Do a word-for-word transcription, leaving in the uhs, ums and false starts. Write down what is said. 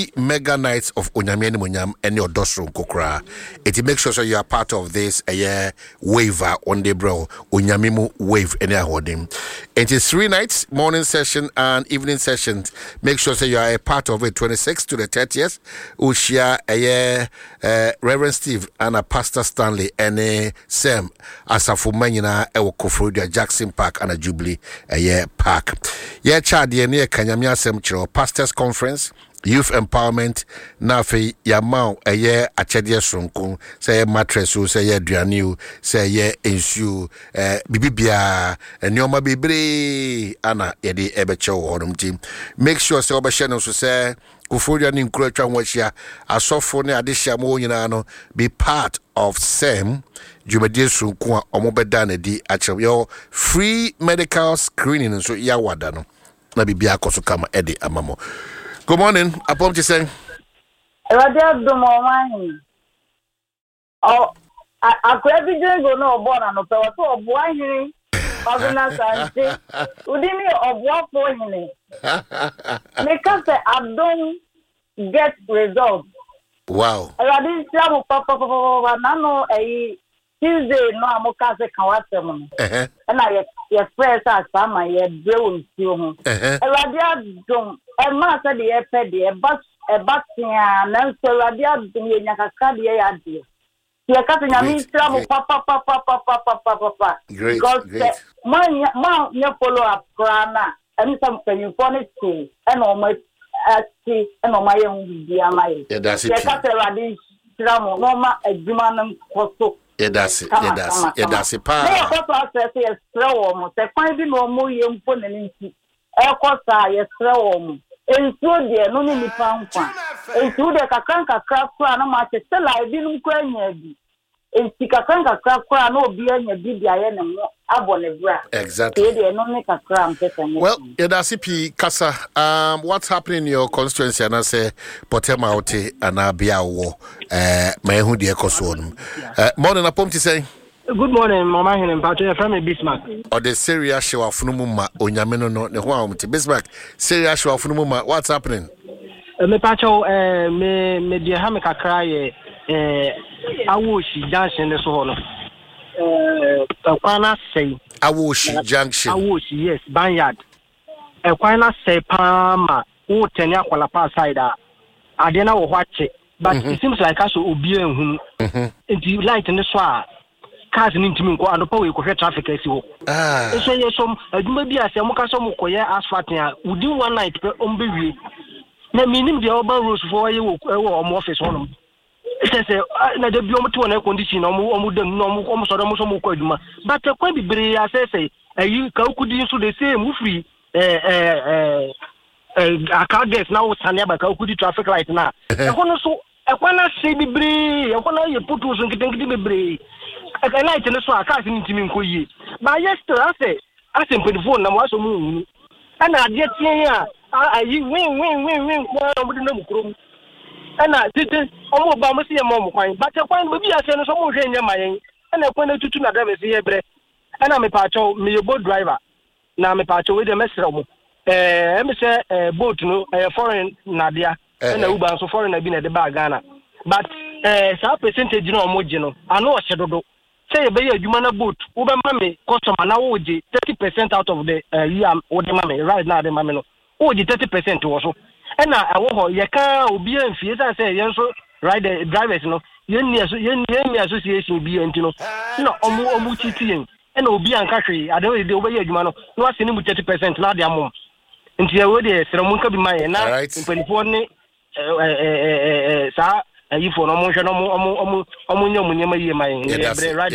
Three mega nights of Onyame Animonyam ɛne ɔdɔ soronko koraa. Eti make sure sɛ you are part of this ɛyɛ wave a ɔnde brɛ Onyame mu wave ɛne ahoɔden. Eti three nights, morning session and evening sessions. Make sure sɛ you are a part of it. Twenty six to the thirtieth. Wohyia ɛyɛ uh, Reverend Steve ana Pastor Stanley ɛne Sam asafo mma nyinaa ɛwɔ Koforidua Jackson Park ana Jubilee ɛyɛ park. Yɛkyɛ adeɛ ne yɛka Nyame asɛm kyerɛ, pastors conference, youth empowerment, na afei yɛama wo ɛyɛ akyɛdeɛ soronko, sɛ ɛyɛ mattress o, sɛ ɛyɛ aduane o, sɛ ɛyɛ nsuo, ɛɛ biribi biara, nneɛma bebree ana yɛde ɛbɛkyɛ wɔ hɔnom. Nti make sure sɛ wɔbɛhyɛ no nso sɛ Koforidua ne nkuro atwa ho ahyia asɔfo ne adehyia mu wɔn nyinaa no be part of sɛm dwumadie soronko a wɔn bɛda n'adi akyerɛ. Yɛwɔ free medical screening nso yɛawada no na biribi akɔ so kama ɛde ama mo. Good morning, apɔm te sɛn? Awurade adom, ɔman hene. Ɔ akora bi jingle na ɔbɔɔ n'anɔpɛ wɔ sɛ ɔboa hene Ɔbena Sante wodi ne ɔboafoɔ hene. Meka sɛ adom get result. Wow. Awurade nhyira mo papapapapa. N'ano ɛyi Tuesday no a moka sɛ ka w'asɛm no, ɛhɛ ɛna yɛ yɛfrɛ sɛ asa ma yɛbrɛ wɔ nsuo ho. Ɛhɛ awurade adom, ɛmaa sɛ deɛ yɛpɛ deɛ ɛba ɛba tea, nanso Awurade adom yɛnya kakra deɛ yɛ adeɛ. Yɛka sɛ Nyame Great, nhyira mo great. papapapapapapapa. Great, because sɛ great. moanyɛ moanyɛ follow up koraa na ɛne sɛ mpanyinfoɔ no te ɛna ɔmo ate ɛna ɔmo ayɛ ho biribi ama yɛ. Yɛda ase Yɛka pii. sɛ Awurade nhyira mo na ɔma adwuma no nkɔ so. Yɛda ase. Kama, Yɛda ase. kama, Yɛda kama. ase Na paa. yɛkɔ so asrɛ sɛ yɛsrɛ wɔ mo sɛ kwan bi na ɔmo yɛ mpo ne ne nti ɛkɔ saa, yɛsrɛ wɔ mo. Nsuo deɛ no ne nipa nkwa, nsuo deɛ kakra nkakra koraa na mo akyɛ sɛ la ebinom koraa nya bi, nti kakra nkakra koraa na obi anya bi de ayɛ ne ho abɔ ne bra. Exactly. Tie deɛ ɛno ne kakra mpɛ sɛ mo Well, yɛda ase pii. Kasa, um, what's happening in your constituency anaasɛ pɔtɛm a wote anaa bea a wowɔ, eh, ma ɛho deɛ ɛkɔ soɔ no. uh, morning, apɔm te sɛn? Good morning, Mama Hene Mpacho. Yɛfrɛ me Bismarck. Ɔde seria hyɛ w'afono mu ma Onyame no no ne ho a wɔmte. Bismarck, seria hyɛ w'afono mu ma, what's happening? Eh, Mepacho, eh, me me deɛ ha me kakra yɛ eh, Awoshi Junction ne so hɔ no. Eh, ɛkwan no asɛe. Awoshi Junction? Awoshi, yes, Banyard. Ɛkwan no asɛe paa ma wotɛne Akwalapa side a adeɛ no wɔ hɔ akyɛ. But it seems like asɛ obiara nhunu. Mhm. Nti light ne so a cars no ntumi nkɔ. Anɔpa wei kɔhwɛ traffic asi hɔ. Ah. Nso yɛ som adwuma bi a sɛ moka sɛ mokɔyɛ asphalt a, within one night pɛ ɔmo bɛwie. Na menim deɛ ɔba roads foɔ yɛ wɔ ɛwɔ ɔmo office hɔnom kyɛ sɛ ah, na da bi ɔmo te wɔn air condition na ɔmo ɔmo dam na ɔmo ɔmo sɔrɔ ɔmo sɛ ɔmo kɔ adwuma, but ɛkwan bebree asɛesɛe. Ayi Kawukudi nso the same, wofiri ɛɛ ɛɛ ɛɛ Accra Girls na wosane aba Kawukudi traffic light na ɛhɔ no so ɛkwan no asɛe bebree. Ɛhɔ no ayɛ potholes nketenkete bebree. Ɛ light no so a cars no ntumi nkɔ yie, baayɛ still asɛ asɛ mpanimfoɔ nam asɛ ɔmo nhunu. Ɛna adeɛ teɛ a a- ayi win win win win nko ara na ɔmo de nam kurom. Ɛna tete ɔmo ba ɔmo si yɛ ma ɔmo kwan, but kwan no baabi asɛ no so ɔmo nhwɛ nyɛ ma yɛn. Ɛna kwan no tutu na drivers yɛ brɛ. Ɛna mepaakyɛw, meyɛ boat driver na mepaakyɛw, wei deɛ mɛsrɛ mo, ɛɛ ɛmi sɛ ɛɛ boat no ɛyɛ foreign nadea, ɛna Uber nso foreign bi na ɛde baa Ghana, but ɛɛ saa percentage no a ɔmo gye no ano ɔhyɛ dodo sɛ yɛbɛyɛ adwuma na boat wobɛma me customer na wogye thirty percent out of the ɛɛ yi a wode ma me ride na ade ma me no, wogye thirty percent wɔ so. Ɛna ɛwɔ hɔ yɛka obiara mfie sɛ sɛ yɛn nso rider drivers no yɛnni aso yɛnni yɛnni association bi nti no na ɔmo ɔmo titi yɛn. Ɛna obi anka hwee ade no de wobɛyɛ adwuma no na wase ne mu thirty percent na ade amom. Nti ɛwɔ deɛ srɛ mo nka bi ma yɛn na Alright. mpanimfoɔ ne ɛɛ ɛɛ ɛɛ saa ayifoɔ no ɔmo nhwɛ na ɔmo ɔmo ɔmo ɔmo nyɛ ɔmo nneɛma yie ma yɛn. Yɛda ase. Yɛbrɛ rider.